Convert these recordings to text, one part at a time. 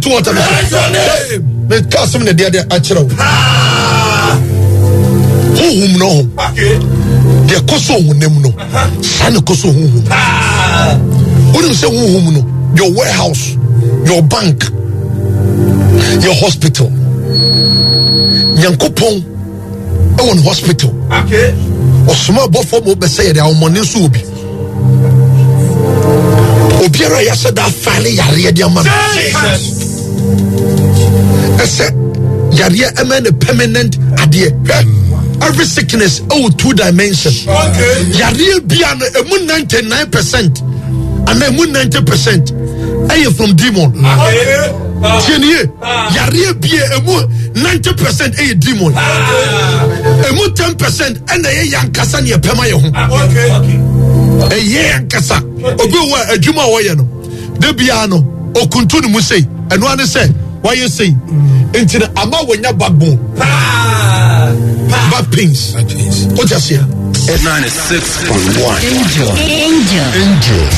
To water no so. Meka asɛm na ɛde akyerɛ wo. Honhom no ho. Deɛ ɛkɔ so honam no, saa na ɛkɔ so honhom. Wonim sɛ honhom no, your warehouse, your bank, your hospital. Nyankopɔn ɛwɔ ne hospital. Ɔsoma abɔfoɔ ma wobɛsɛ yɛde ahomɔne nso wɔ bi. obiara a yɛahyɛ da afaale yareɛ de ama no ɛsɛ yareɛ ɛmɛ ne permanent adeɛ hwɛ every sickness ɛwɔ two dimension yareɛ bia no ɛmu 99 percent anaa ɛmu 90 percent ɛyɛ from demon. Tie nie, yareɛ bia ɛmu 90 percent ɛyɛ demon, ɛmu 10 percent ɛna ɛyɛ yankasa ne ɛpɛma yɛ ho. Ɛyɛ yankasa. Obi wɔ a adwuma a wɔyɛ no de biara no okuntu ne mu sei, ɛno ano sɛ wayɛ sei nti no ama wɔnya backbone, back pains. O ti aseɛ. 96.1 Angel. Angel. Angel.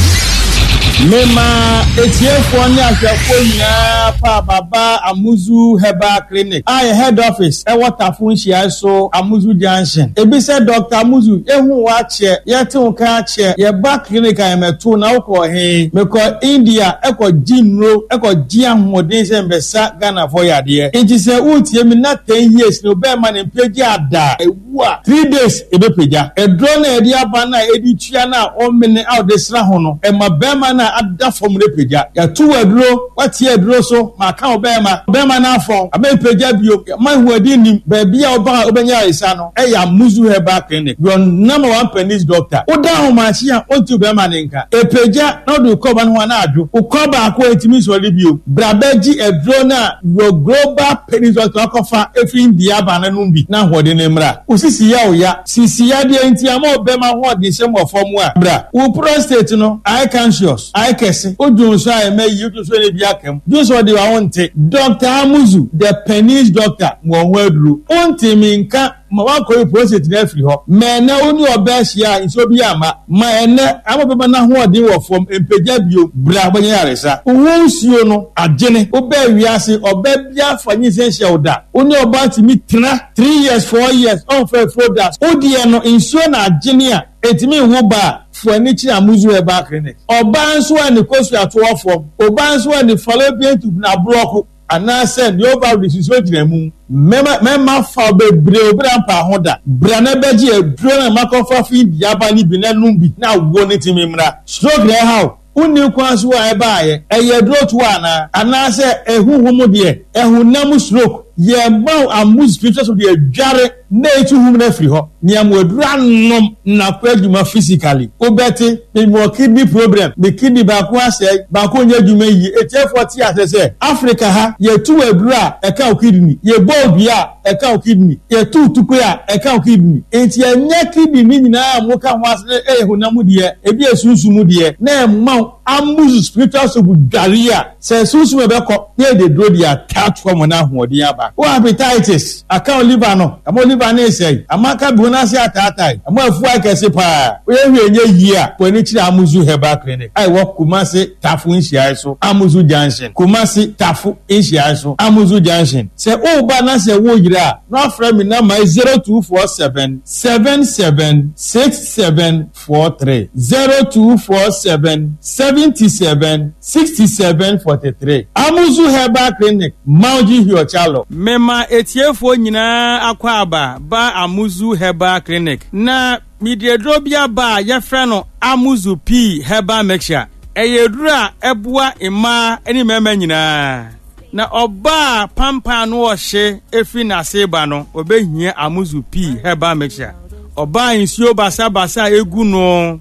Mema etiefoɔ ne ahwɛfoɔ nyinaa pa Baba Amuzu Herbal Clinic a yɛ head office ɛwɔ Tafo nhyiae so, Amuzu Junction. Ebi sɛ Dr. Amuzu, ehu wo akyɛ, yɛte wo ka akyɛ, yɛba clinic a yɛmɛto na wokɔ he? Mekɔ India ɛkɔ gye nnuro, ɛkɔ gye ahoɔden sɛ mbɛsa Ghanafoɔ yadeɛ. Nti sɛ wotie me na 10 years ne wobɛɛma ne mpagya ada ewu a, 3 days ebɛpagya. Aduro no a yɛde aba no a ɛdi tua no a ɔmene a ɔde sra ho no, ɛma bɛrima no a ada fam no pagya. Yɛto wɔ aduro, watie aduro so ma aka wo bɛrima. Bɛrima no afɔn, ama mpagya bio. Ma ahoɔden nim baabi a woba a wobɛnya ayaresa no, ɛyɛ Amuzu Herbal Clinic, your number one penis doctor. Woda ahomakye a, ɔnte wo bɛrima no nka. Ɛpagya na wode wo kɔba no ho a na adwo. Wo kɔ baako a ɛntumi nsɔre bio. Bra bɛgye aduro no a your global penis doctor akɔfa ɛfiri India aba no nom bi na ahoɔden no mmra. Wo sisi yɛ wo ya. Sisi yadeɛ nti ama ɔbɛma ahoɔden hyɛ mu wɔ fam a, bra. Wo prostate no ayɛ cancerous, ayɛ kɛse. Wo dwonsɔ a ɛmɛ yie, wo dwonsɔ na ebi aka mu. Dwonsɔ de wa wonte. Doctor Amuzu, the penis doctor, ma wɔn ho aduro. Wonte me nka ma woakɔyi prostate no afiri hɔ. Ma ɛnnɛ wo ne ɔbaa hyia a nsuo bi amma. Ma ɛnnɛ ama ɔbɛma no ahoɔden wɔ fam, mpagya bio. Bra wobɛnya yaresa. Wo ho nsuo no agyene. Wobaa wiase, ɔbaa biara fa nyinsɛn hyɛ wo da. Wo ne ɔbaa tumi tena 3 years, 4 years, ɔmfa afuro da. Wo deɛ no nsuo na agyene a ɛntumi nwo ba a, fo ani kyerɛ Amuzu Herbal Clinic. Ɔbaa nso a ne kosua to wɔ fam, ɔbaa nso a ne fallopian tube no aborɔko anaasɛ ne ovary nsuo gyina mu. Mɛma mɛma fa bebree obira mpa ho da. Bra na bɛgye aduro na makɔfa fi diaba no bi na nom bi na wo ne timi mmra. Stroke na ɛha wo. Wonni kwan so a ɛbaayɛ. Ɛyɛ aduro to anaa? Anaasɛ ɛhuhum deɛ? Ɛhonam stroke. Yɛma wo Amuzu spiritual soap de adware na etu hum no afiri hɔ. Nea mo aduro anom na kɔ adwuma physically. Wobɛte, mewɔ kidney problem, me kidney baako asɛe, baako nyɛ adwuma yie. Etiefoɔ te ase sɛ Africa ha yɛtu aduro a ɛka wo kidney, yɛbɔ wo dua a ɛka wo kidney, yɛtu tukwe a ɛka wo kidney. Nti ɛnyɛ kidney ne nyinaa a moka ho ase no ɛyɛ honam deɛ, ebi yɛ sunsum deɛ na ɛma wo Amuzu spiritual soap dware a sɛ sunsum ɛbɛkɔ na yɛde duro de ataatoa mu na ahoɔden aba. Wo hepatitis aka wo liver no, ama wo liver no resɛe, ama aka bi ho ase ataatae, ama afu ayɛ kɛse paa. Woyɛ hwee nyɛ yie a, kɔ ani kyerɛ Amuzu Herbal Clinic a ɛwɔ Kumasi Tafo nhyiae so, Amuzu Junction, Kumasi Tafo nhyiae so, Amuzu Junction. Sɛ woreba na sɛ woyera a, na wafrɛ me namba yi 0247 77 67 43, 0247 77 67 43. Amuzu Herbal Clinic, Mauji Hiochalo. Mema etiefoɔ nyinaa akɔ aba ba Amuzu Herbal Clinic. Na mede aduro bi aba a yɛfrɛ no Amuzu Pii Herbal Mixture. Ɛyɛ aduro a ɛboa mmaa ne mmarima nyinaa. Na ɔbaa pampan no ɔhye efiri n'ase ba no, ɔbɛhia Amuzu Pii Herbal Mixture. Ɔbaa nsuo basabasa a egu no,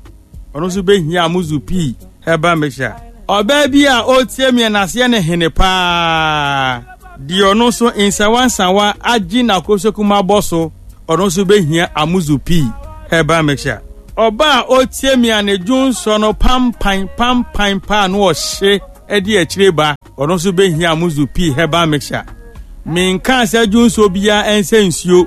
ɔno nso bɛhia Amuzu Pii Herbal Mixture. Ɔbaa bi a ɔretie mi n'aseɛ ne hene paa deɛ, ɔno nso nsawansawa agye n'akosokum abɔ so, ɔno nso bɛhia Amuzu Pii Herbal Mixture. Ɔbaa a ɔretie mi a ne dwonsɔ no pampan pampan paa no ɔhye de akyire ba, ɔno nso bɛhia Amuzu Pii Herbal Mixture. Menka sɛ dwonsɔ biara ɛnsɛ nsuo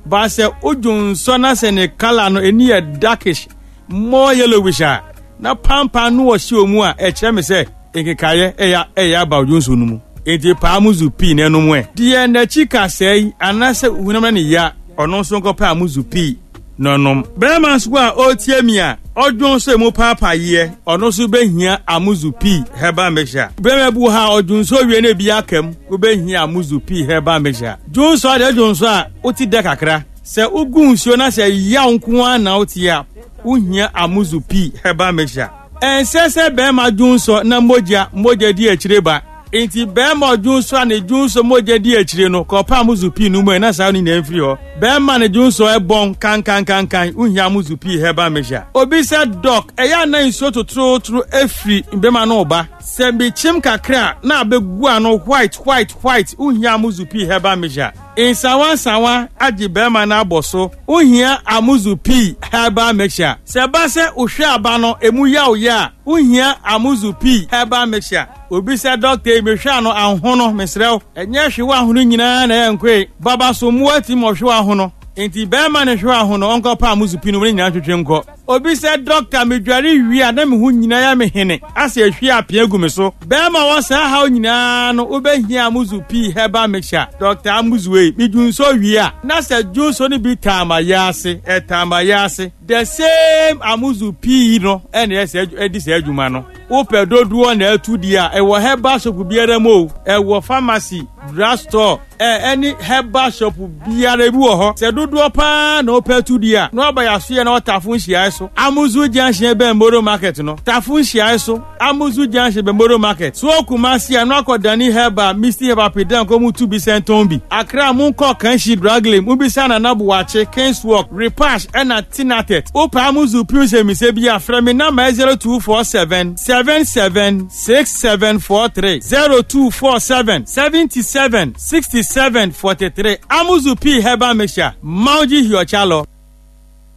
ba, sɛ wodwonsɔ na sɛ ne colour no ani yɛ darkish, more yellowish a na pampan no ɔhyɛ mu a, ɛkyerɛ me sɛ nkekaeɛ ɛyɛ aba odwonsɔ no mu. Enti pɛ Amuzu pii na ɛnom ɛ. Deɛ n'akyi kasɛe anaasɛ honam no ne ya, ɔno nso nkɔpɛ Amuzu pii na ɔnom. Barima nso a ɔretie mi a ɔdwon sɛ emu paapaeɛ, ɔno nso bɛhia Amuzu pii herbal mixture. Barima bi wɔ hɔ a ɔdwon sɛ owie na ebi aka mu, wobɛhia Amuzu pii herbal mixture. Dwonsɔ adeɛ dwonsɔ a wote dɛ kakra. Sɛ wogu nsuo na sɛ yaw nko ara na wote a, wohia Amuzu pii herbal mixture. Ɛnsɛ sɛ barima dwonsɔ na mogya mogya di akyire ba. Enti barima ɔdwonsɔ a ne dwonsɔ mogya di akyire no, kɔpɛ Amuzu pii no mu ɛ na saa no nyinaa mfiri hɔ. Barima ne dwonsɔ ɛbɔn kankankankan, wohia Amuzu pii herbal mixture. Obi sɛ, Doc, ɛyɛ a na nsuo totorotoro firi bɛma no ba. Sɛ mekyem kakra a na abɛgu ano white white white, wohia Amuzu pii herbal mixture. Nsawa nsawa agye bɛrima no abɔ so, wohia Amuzu pii herbal mixture. Sɛ ɛba sɛ wohwɛ aba no emu yaw yɛ a, wohia Amuzu pii herbal mixture. Obi sɛ dɔkta yi mehwɛ ano ahono, mesrɛ wo, ɛnyɛ hwewa ahono nyinaa na ɛyɛ nkoe. Baba so mmoa tumi ma ɔhwewa ahono. Enti bɛrima no hwewa ahono, ɔnkɔpɛ Amuzu pii no mu ne nyinaa ntwetwe nkɔ. Obi sɛ dɔkta medware wie a na me ho nyinaa yɛ me hene asɛ ehwie apea gu me so. Bɛrima wɔ saa haw nyinaa no wobɛhia Amuzu pii herbal mixture. Dɔkta Amuzu ei, me dwunsɔ wie a na sɛ dwunsɔ no bi taa ma yɛ ase, ɛtaa ma yɛ ase. The same Amuzu pii no ɛna ɛsɛ ɛdi saa adwuma no. Wopɛ dodoɔ na atu di a, ɛwɔ herbal shop biara mu o, ɛwɔ pharmacy, drug store, ɛ ɛne herbal shop biara ebi wɔ hɔ. Sɛ dodoɔ paa na wopɛ atu di a, na waba yɛasoɛ na ɔtafo nhyiae so. Amuzu Junction bɛn Moro Market no. Tafo nhyiae so, Amuzu Junction bɛn Moro Market. So Kumasi a, na wakɔ Dani Herbal, Misty Herbal Pedan kɔ mu tu bi sɛntɔn bi. Accra monkɔ Kanshi Drug Lane, mobisa Nana Boakye, Kingswalk, Repash ɛna Tinatet. Wopɛ Amuzu pii nsɛmmisa bi a, frɛ me namba 0247 77 6743 0247 77 67 43. Amuzu pii herbal mixture, Mauji Hiochalo.